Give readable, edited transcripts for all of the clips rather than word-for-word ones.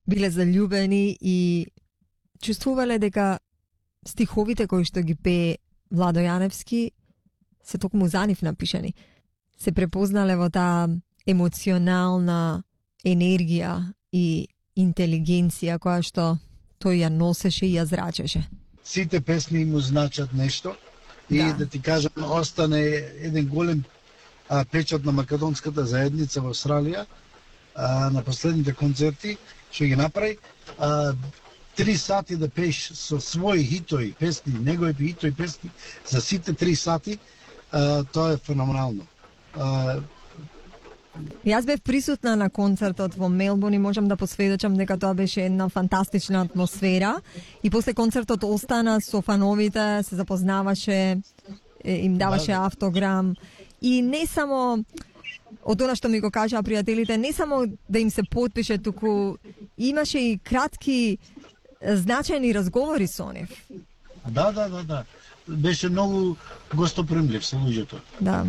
биле заљубени и чувствувале дека стиховите кои што ги пее Владо Јаневски се токму за нив напишани. Се препознале во таа емоционална енергија и интелигенција која што тој ја носеше и ја зрачеше. Сите песни му значат нешто и да ти кажам, остане еден голем печат на македонската заедница во Австралија на последните концерти што ги направи. 3 сати да пееш со своји хитови песни, негови хитови песни за сите 3 сати, тоа е феноменално. Јас бев присутна на концертот во Мелбурн и можам да посведочам дека тоа беше една фантастична атмосфера и после концертот остана со фановите, се запознаваше, им даваше автограм и не само од она што ми го кажаа пријателите, не само да им се потпише, туку имаше и кратки значајни разговори со нив. Да. Беше многу гостопримлив се луѓето. Да.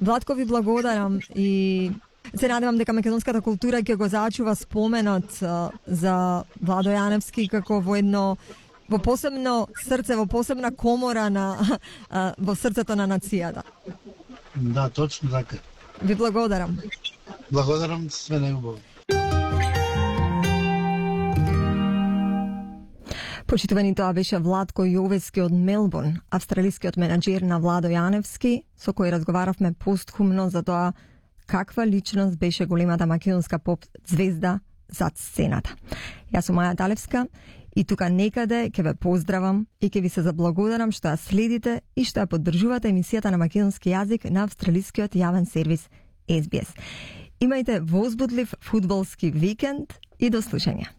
Владко, ви благодарам и се надевам дека македонската култура ќе го зачува споменот за Владо Јаневски како во посебно срце, во посебна комора во срцето на нацијата. Да, точно така. Ви благодарам. Благодарам, све најубаво. Почитувани, тоа беше Владко Јовески од Мелбурн, австралискиот менаџер на Владо Јаневски, со кој разговаравме постхумно за тоа каква личност беше големата македонска поп звезда зад сцената. Јас сум Маја Талевска и тука некаде ќе ве поздравам и ќе ви се заблагодарам што ја следите и што ја поддржувате емисијата на македонски јазик на австралискиот јавен сервис SBS. Имајте возбудлив фудбалски викенд и до слушање.